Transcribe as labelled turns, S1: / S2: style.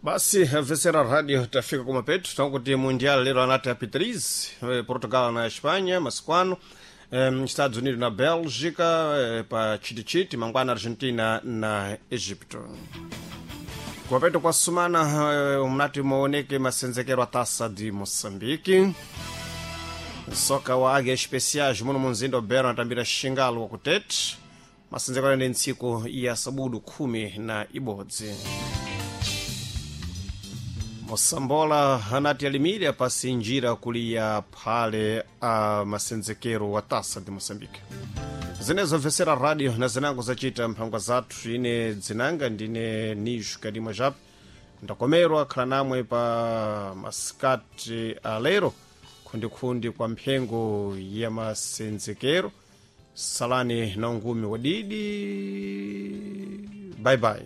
S1: Basi vesera radio, tafika kumapeto. Tankuti Mundial lero anati a P3, Portugal na Espanha masiku ano, Estados Unidos na Bélgica, pa chitichiti mangwana Argentina na Egipto. Kumapeto kwa sumana, mnati muoneke masenzekero a Taça de Moçambique. Soka wa Águias Especiais muno munzinda Beira anatambira Xingalo wa kutete. Masenzekero ndi ntsiku ya sabudu 11. Mosambola anati alimire apasi njira kuliya phale a masenzekero wa Taça de Moçambique. Zinezo mvesera radio na zinango zacita mphangwa zathu. Ine dzinanga ndine Nijo Kadima Jap. Ndakomerwa khala namwe pa masikati alero khundikhundi kwa mphengo ya masenzekero. Salani na ungumi wadidi. Bye bye.